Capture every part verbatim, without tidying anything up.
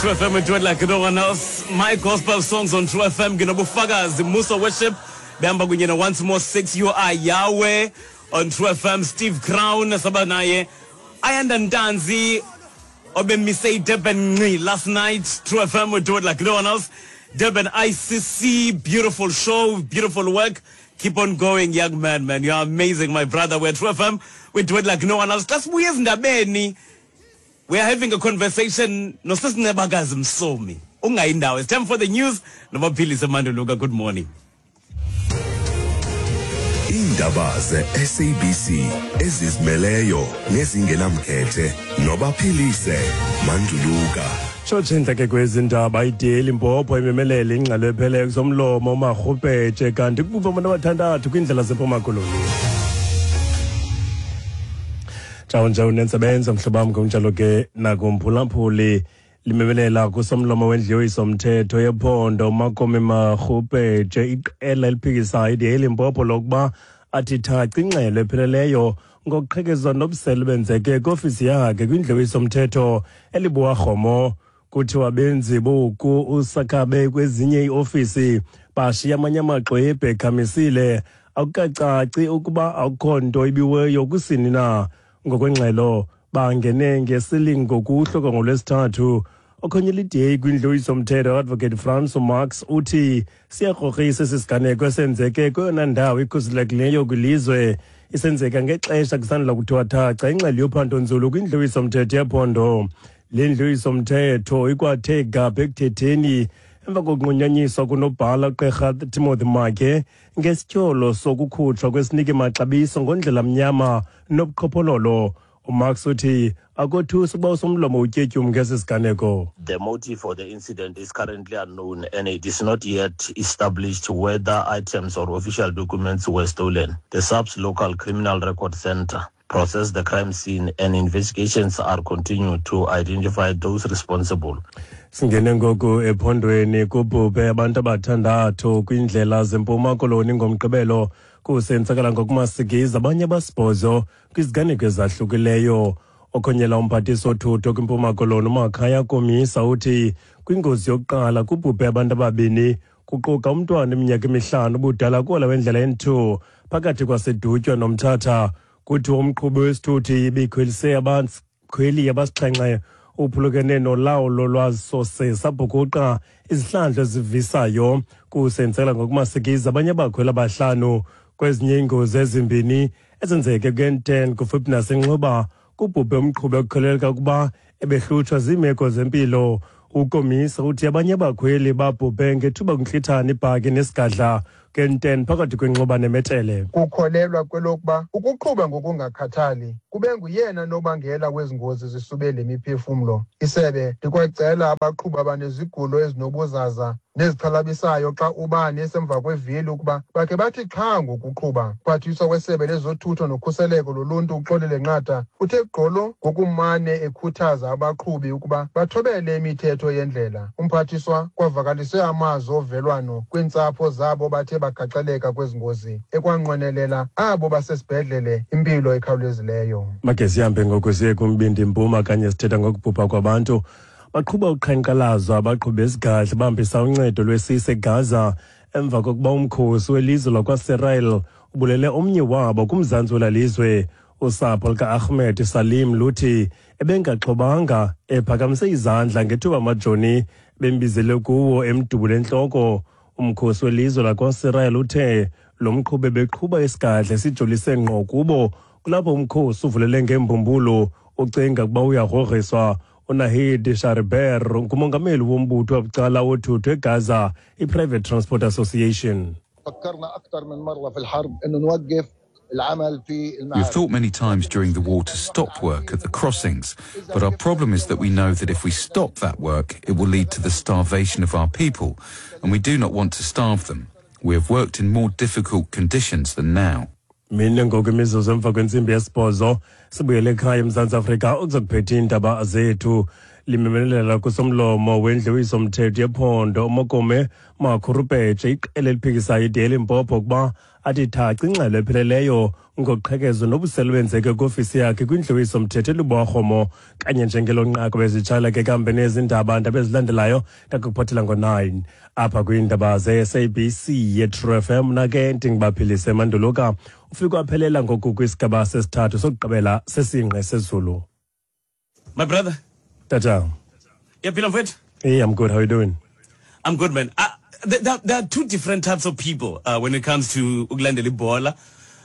True F M, we do it like no one else. My gospel songs on True F M, nginobufakazi, Musa Worship, behamba kunye no Once More Six, You Are Yahweh on True F M, Steve Crown, saba naye, Ayanda Ntanzi, obemise Durban nqi last night. True F M, we do it like no one else. Durban I C C, beautiful show, beautiful work. Keep on going, young man, man. You are amazing, my brother. We're True F M. We do it like no one else. Xa sibuye ezindabeni, we are having a conversation noSisi Ncebakazi Msomi. Ungayindawo. It's time for the news. Nobaphilise Manduluka. Good morning. Iindaba ze-S A B C ezizimeleyo nezingenamkhethe noBaphilise Manduluka. Tshotshe ke kwezi ndaba, i-D A Limpopo imemelele ingxelo epheleyo kusomlomo uMakgupetshe, kanti kubhubhe abantu abathandathu kwiindlela zeMpuma Koloni. Tshawo nje unentsebenzo mhlobo wam, ngokunjalo ke nakumphulaphuli. Limemelela kusomlomo wendlu yowiso-mthetho yephondo uMakome Makgupetshe iqela eliphikisayo i-D A Limpopo lokuba athi thaca ingxelo epheleleyo ngokuqhekezwa nobusela benzeke kwiofisi yakhe kwindlu yowiso-mthetho eLebowakgomo. Kuthiwa benzi boku usakabe kwezinye iiofisi, bashiya amanye amaxwebhu ekhamisile. Akukacaci ukuba akukho nto ibiweyo kusini na. Ngokwengxelo, bangene ngesilingo kuhloko ngoLwesithathu. Okhonyela i-D A kwindlu yowiso-mthetho Advocate Franco Marx uthi siyakrokrisa esi siganeko esenzeke kweyona ndawo ikhuselekileyo kwilizwe, isenzeka ngexesha kusandula kuthiwa thaca ingxelo yophando nzulu kwindlu yowiso-mthetho yephondo. Le ndlu yowiso-mthetho ikwathe gabhe ekuthetheni emva kokunqunyanyiswa kunobhala uGqirha Timothy Maake ngesityholo sokukhutshwa kwesiniki maxabiso ngondlela mnyama nobuqhophololo. UMarx uthi akothusi ukuba usomlomo utyetyum ngesi siganeko. The motive for the incident is currently unknown and it is not yet established whether items or official documents were stolen. The SAPS local criminal record center processed the crime scene and investigations are continued to identify those responsible. Singene ngoku ephondweni. Kubhubhe abantu abathandathu kwiindlela zeMpuma Koloni ngoMgqibelo, kusenzakala ngokumasikizi abanye abasibhozo kwiziganeko ezahlukileyo. Okhonyela umphathiswa othutho kwiMpuma Koloni uMakhaya Komisa uthi kwingozi yokuqala kubhubhe abantu ababini, kuquka umntwana iminyaka emihlanu ubudala, kuhola wendlela N two phakathi kwaseDutywa noMthatha. Kuthiwa umqhubi wesithuthi ibikhwelise abakhweli abasixhenxe uphulukene nolawulo lwaso sabhukuqa izihlandlo ezivisayo, kusenzela ngokumasikizi abanye abakhweli abahlanu. Kwezinye iingozi ezimbini ezenzeke ku-N ten kufuphi naseNxuba, kubhubhe umqhubi ekukholeleka ukuba ebehlutshwa ziimeko zempilo. UKomisa uthi abanye abakhweli babhubhe ngethuba kuntlithana ibhaki nesigadla ku-N ten phakathi kweNxuba neMetele. Kukholelwa kwelokuba ukuqhuba ngokungakhathali kube nguyena nobangela wezi ngozi zisube le miphefumlo. Isebe likwacela abaqhubi abanezigulo ezinobuzaza nezixhalabisayo xa ubani esemva kwevili ukuba bakhe bathi xha ngokuqhuba. Mphathiswa wesebe lezothutho nokhuseleko loluntu uXolile Nqatha uthe gqolo ngokumane ekhuthaza abaqhubi ukuba bathobele imithetho yendlela. Umphathiswa kwavakalise amazwi ovelwano kwiintsapho zabo bathe bagaxeleka kwezi ngozi, ekwanqwenelela abo basesibhedlele impilo ekhawulezileyo. Makhe sihambe ngoku siye kumbindi mpuma. Kanye sithetha ngokubhubha kwabantu, baqhuba uqhankqalazo abaqhubi bezigadla bahambisa uncedo lwesise eGaza emva kokuba umkhosi welizwe lakwaSisrael ubulele omnye wabo kumzantsi wela lizwe. Usapho luka-Ahmed Salim luthi ebengaxhobanga, ephakamise izandla ngethuba amajoni bembizele kuwo emdubule entloko. Umkhosi welizwe lakwaSisrael uthe lo mqhubi beqhuba isigadla sijolise ngqo kubo, kulapho umkhosi uvulele ngembumbulu ucinga ukuba uyagrogriswa. UNahid Shariber ngumongameli wombutho wabucala wothutho eGaza, i-Private Transport Association. فكرنا أكثر من مرة في الحرب إنه نوقف العمل في We've المعابر. thought many times during the war to stop work at the crossings, but our problem is that we know that if we stop that work, it will lead to the starvation of our people, and we do not want to starve them. We have worked in more difficult conditions than now. Mine ngoku imizuzu emva kwentsimbi yesibhozo, sibuyele ekhaya eMzantsi Afrika ukuzokuphetha iindaba zethu. Limemelela kusomlomo wendlu yowiso-mthetho yephondo uMokome Makhurupetshe iqela eliphikisayo I D A eLimpopo ukuba athi thaca ingxelo epheleleyo ngoqhekezo nobusela obenzeke kwiofisi yakhe kwindlu yowiso-mthetho eLebowakgomo. Kanye njengelo nqaku bezitshala ke kambe nezindaba ndaba ezilandelayo ndakuphathela ngo-nine apha kwiindaba ze-S A B C ye-True F M. Mna ke ndinguBaphilise Manduluka. Ufike waphelela ngoku kwisigaba sesithathu sokugqibela sesingqi sezulu. My brother. Tata. Uyaphila, mfethu? Hey, I'm good. How are you doing? I'm good, man. Uh, there, there, there are two different types of people uh, when it comes to ukulandela ibhola.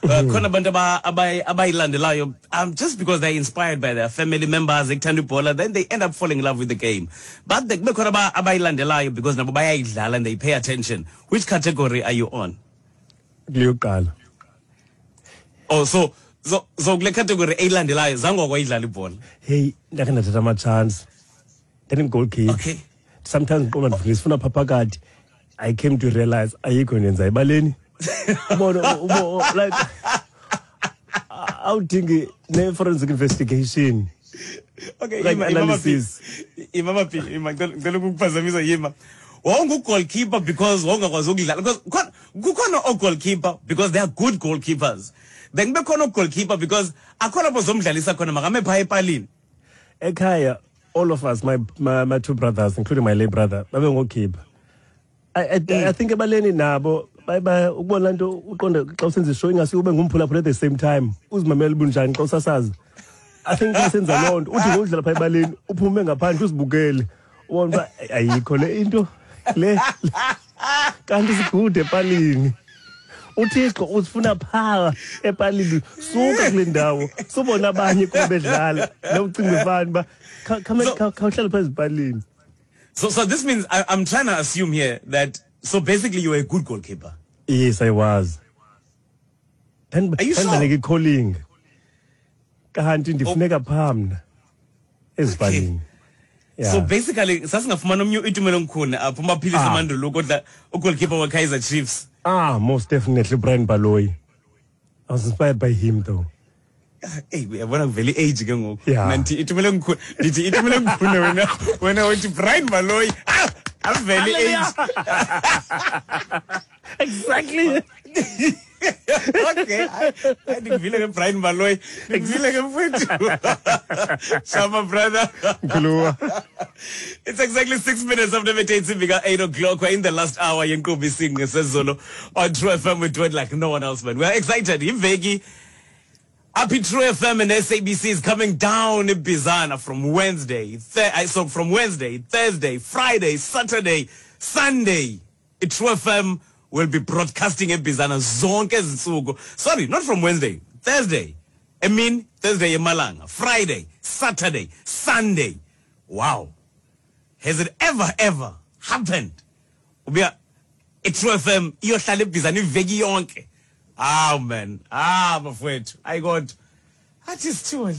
Uh, khona abantu aba- abayi- abayilandelayo um, just because they're inspired by their family members ekuthanda ibhola, then they end up falling in love with the game. But kube khona aba- abayilandelayo because nabo bayayidlala and they pay attention. Which category are you on? Kuleyokuqala. Oh, so so so kule category eyilandelayo zange wakwayidlala ibhola? Hey, ndakhe ndathatha ama-chance. Ndandingu-goalkeeper. Okay. Sometimes ndiqonda ndifuna phaa phakathi. I came to realize ayikho into yenza ebaleni. Ubona, ubo like awudingi ne-forensic investigation. Okay, like ima, ima analysis. Ima maphi, ima, ngicela ngicela ukukuphazamisa, yima. Wawungu-goalkeeper because wawungakwazi ukudlala, because khona kukhona o-goalkeeper because they are good goalkeepers. Then kube khona o-goalkeeper because akhona lapho zomdlalisa khona, makame phaa epalini. Ekhaya, all of us, my, my, my two brothers, including my late brother, babengokhipha. I, I, I think ebaleni nabo baye ba- ukubona laa nto uqonde xa usenza ishow ingase ube ngumphulaphula at the same time, uzimamele bunjani xa usasazi. I think xa senza loo nto, uthi ngokudlala phaa ebaleni uphume ngaphandle uzibukele, ubone uba ayikho le into le, kanti sigude epalini. UThixo usifuna phaa epalini. Suka kule ndawo, subona abanye kuba bedlala nokucinga ifani uba khawuhlale phaa ezipalini. So so this means I, I'm trying to assume here that, so basically you were a good goalkeeper. Yes, I was. Are you sure? Ndandibanike i-calling, kanti ndifuneka phaa mna ezipalini. Yeah. So basically sasingafumana omnye uItumeleng Khune apho, uMaphilisi Ah. Manduluka odla ugoalkeeper weKaizer Chiefs? Ah, most definitely Brian Baloyi. I was inspired by him though. Hey, uyabona kuvela i-age ke ngoku. Yeah. Mna ndithi Itumeleng Khune, ndithi Itumeleng Khune, wena wena uthi Brian Baloyi. Ah, avele i-age. Exactly. Okay, hayi, ndikuvile ke Brian Baloyi. Ndikuvile ke, mfethu. Shama, brother. Mkhuluwa. It's exactly six minutes after eight, eight o'clock. We're in the last hour yenkqubo Isingqi Sezulu on True F M. We do it like no one else, man. We're excited. Iveki Happy True F M and S A B C is coming down in Bizana from Wednesday. Th- uh, so from Wednesday, Thursday, Friday, Saturday, Sunday, True F M will be broadcasting in Bizana zonke izinsuku. Sorry, not from Wednesday, Thursday. I mean Thursday emalanga, Friday, Saturday, Sunday. Wow. Has it ever, ever happened? Ubuya i-True F M iyohlala eBizana iveki yonke. Ah, man. Ah, bafowethu. Ayi kodwa. Athi sithole.